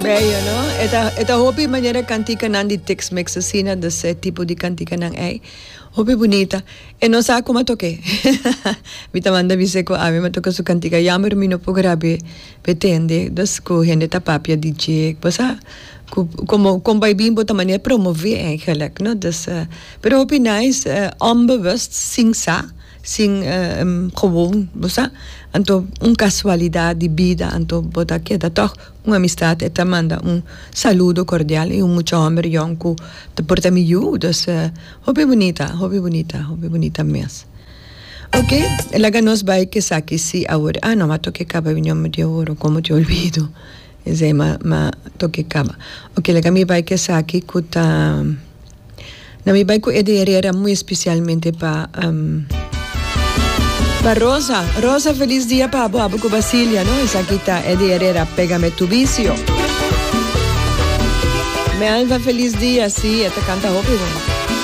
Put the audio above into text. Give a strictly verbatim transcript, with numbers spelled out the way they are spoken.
Bello, no? E ta, e ta hopi manera kantikanan di Tex-Mex asina, dus e tipo di kantikanan ei. Hopi bunita. E no sa kon a tok'é. Mi ta manda bis'é ku ami m'a toka su kantika. Jammer mi no por grab'é p'e tende. Dus ku hende ta papia di dje. Bo sa ku komo kon bai bin bo ta manera promové eigenlijk, no? Dus, pero hopi nice, onbewust, sin sa, sin gewoon, bo sa. Anto un kasualidat di bida, anto bo ta keda tòg un amistat. E ta manda un saludo kordial i un mucha hòmber yòn ku ta por ta mi yu. Dus hopi bunita, hopi bunita, hopi bunita mes. Ok, laga nos bai ku esaki si awor. Ah no, m'a toka kaba mi nomber di oro, komo te olvido. Esei m'a m'a toka kaba. Ok, laga mi bai ku esaki ku ta na mi bai ku Eddie Herrera, muy especialmente pa pa Rosa. Rosa, feliz dia pa abo, abo ku Basilia, no? Esaki ta Eddie Herrera, "Pégame tu vicio". Melva, feliz dia, si, e ta kanta hopi bon.